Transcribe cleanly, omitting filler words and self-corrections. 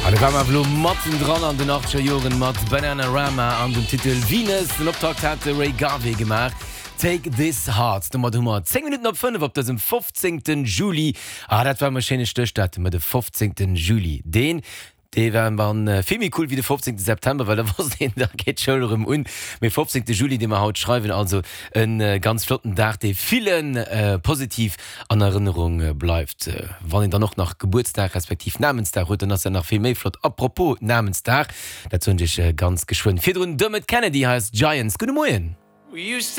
An do ware mer awer elo mattendran an den achtzeger Joren mat Bananarama an dem Titel Venus. Den Optakt hat de Ray Garvey gemaach, Take This Heart. Domat hu mer 10 Minutten op 5 op dësem 15. Juli. Ah, dat war emol e schéine Stéchdatum, de 15. Juli. Deen Dee war dann vill méi cool wéi de 15 September, well da wosst een, da geet d'Schoul erëm un. Mee 15 Juli, dee mer haut schreiwen, also e ganz flotten Dag, dee ville positiv an Erënnerung bleift. Wann een dann och nach Gebuertsdag respektiv Namensdag huet, dann ass dat nach vill méi flott. A propos Namensdag, dat soen ech iech ganz geschwënn. Virdrun Dermot Kennedy, hei ass Giants. Gudde Moien.